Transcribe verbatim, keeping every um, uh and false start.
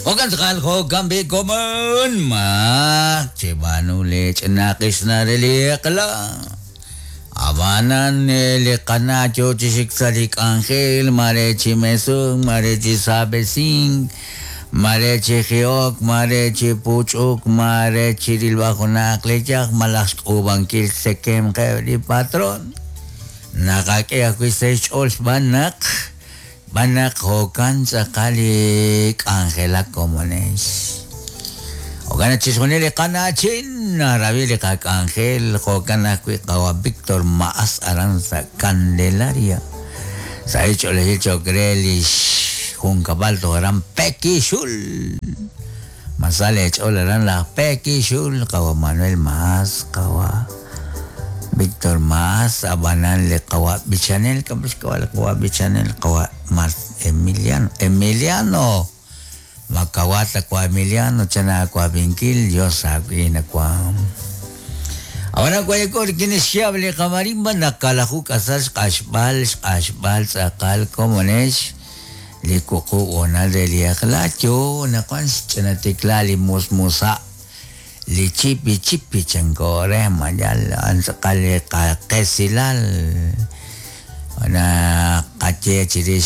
Jo'kan tz'aqal jo'kan b'i komon maq cheb'aanu le ch'inaqix na re li eq'la. Ab'anan li qana' yo chi xik sa' li k'anjel mare chi mesunk mare chi saab'esink mare chi ji'ok mare chi puch'uk mare chi rilb'al junaq li yaj malaj xk'uub'ankil xtzekemqeb' li patron. Naqak'e ajwi' sa' xch'ool xb'aan naq xb'aan naq jo'kan tz'aqal li k'anjelak komonex. Jo'kan chixjunil li qana'chin narab'i li qak'anjel jo'kan ajwi' qawa' Víctor Maas aran sa' Candelaria. Sa' xch'oolejil cho'q re li xjunkab'al toj aran Pekixul. Masal ch'ool aran laj Pekixul qawa' Manuel Maas qawa' Víctor Maas ab'anan li qawa' b'ichanel kab'ix qawa' li qawa' b'ichanel qawa' Mar Emiliano Emiliano Makawata kwa Emiliano chana kwa Vinkil Dios akwina kwa. Ahora kwa yakor kinishiab li qamarimba nakalahu kasal xq'axb'al xq'axb'al tz'aqal komonex li kuqu onal de li eq'la yo naqwan xch'inatikla li musmusa li chipi chipi chankore mayal an tz'aqal li qaqesilal na qache chirix